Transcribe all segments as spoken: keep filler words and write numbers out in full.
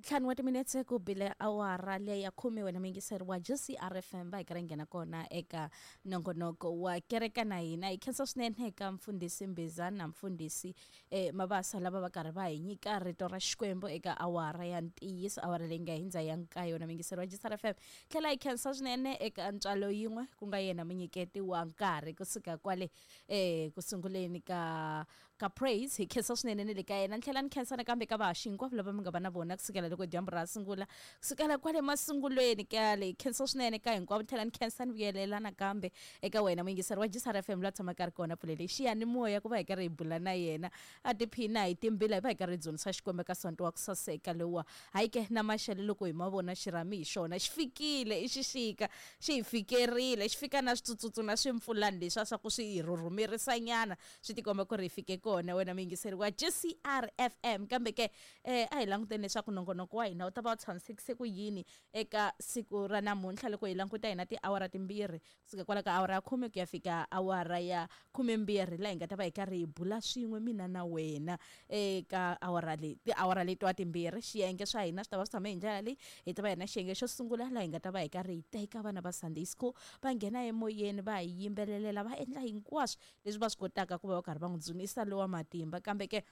Ntlhanu wa timinetse ku bile awara leya khume wena muyingiseri wa G C R F M va hi karhi nghena kona eka nongonoko wa kereka na hina. Hi khensa swinene eka mfundhisi Mbizana na mfundhisi eh, Mabasa lava va karhi va hi nyika rito ra Xikwembu eka awara ya ntiyiso, awara leyi nga hindza ya nkaye wena muyingiseri wa G C R F M. Tlhela hi khensa swinene eka ntswalo yin'we ku nga yena munyiketi wa nkarhi kusuka kwale eh, kusunguleni ka ka praise. Hi khensa swinene ni le ka yena. Ni tlhela ni khensa nakambe ka vahaxi hinkwavo lava mi nga va na vona kusukela loko dyambu ra sungula kusukela kwale masungulweni kale. Khensa swinene ka hinkwavo. Ni tlhela ni khensa ni vuyelela nakambe eka wena muyingiseri wa G C R F M la tshamaka ri kona pfulele xiyanimoya ku va hi karhi hi bula na yena a tiphina hi timbila hi va hi karhi hi dzunisa Xikwembu ka sonto wa ku saseka lowa. Hayi ke na maxelo loko hi ma vona xirhami hi xona xi fikile, i xixika xi hi fikerile, xi fika na switsutsutsu na swimpfulani leswi swa ku swi hi rhurhumerisanyana swi tikomba ku ri hi fike kona wena muyingiseri wa G C R F M. Kambe ke eh, a hi languteni leswaku nongonoko wa hina wu ta va wu tshamisekise ku yini eka siku ra namuntlha loko hi languta hina tiawara timbirhi kusuka kwala ka awara ya khume ku ya fika awara ya khumembirhi laha hi nga ta va hi karhi hi bula swin'we mina na wena eka awara leyi, tiawara letiwa timbirhi. Xiyenge swa hina swi ta va swi tshame hi ndlela leyi. Hi ta va hi na xiyenge xo sungula laha hi nga ta va hi karhi hi teka vana va Sunday school va nghena emoyeni va hi yimbelelela va endla hinkwaswo leswi va swi kotaka ku va va karhi va n'wi dzunisa lowa matimba. Kambe ke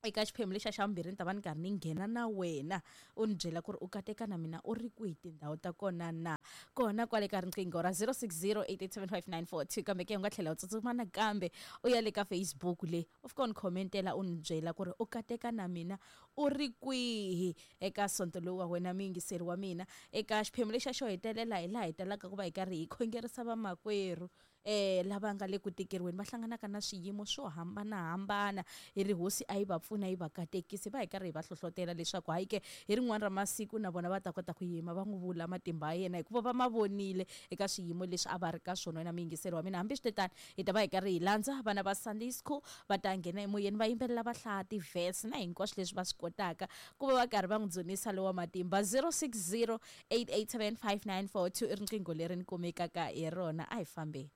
eka xiphemu lexa xa vumbirhi ni ta va ni karhi ni nghena na wena u ni byela ku ri u kateka na mina u ri kwihi tindhawu ta kona na kona kwale ka riqingho ra zero six zero eight eight seven five nine four two. Kambe ke u nga tlhela u tsutsuma nakambe u ya le ka Facebook le u fika u ni khomentela u ni byela ku ri u kateka na mina u ri kwihi eka sonto lowu wa wena muyingiseri wa mina. Eka xiphemu lexa xo hetelela hi laha hi talaka ku va hi karhi hi khongerisa vamakwerhu eh lava nga le ku tikeriweni va hlanganaka na swiyimo swo hambanahambana. Hi ri hosi a yi va pfuna yi va katekisi va hi karhi hi va hlohlotela leswaku hayi ke hi rin'wana ra masiku na vona va ta kota ku yima va n'wi vula matimba ya yena hikuva va ma vonile eka swiyimo leswi a va ri ka swona. Wena muyingiseri wa mina, hambi swi hi ta va hi karhi hi landza vana va Sunday school va ta nghena emoyeni va yimbelela va hlaya ti-verse na hinkwaswo leswi va swi kotaka ku va va karhi va n'wi dzunisa lowa matimba. zero six zero eight eight seven five nine four two i riqingho leri ni kumekaka hi rona. A hi fambeni.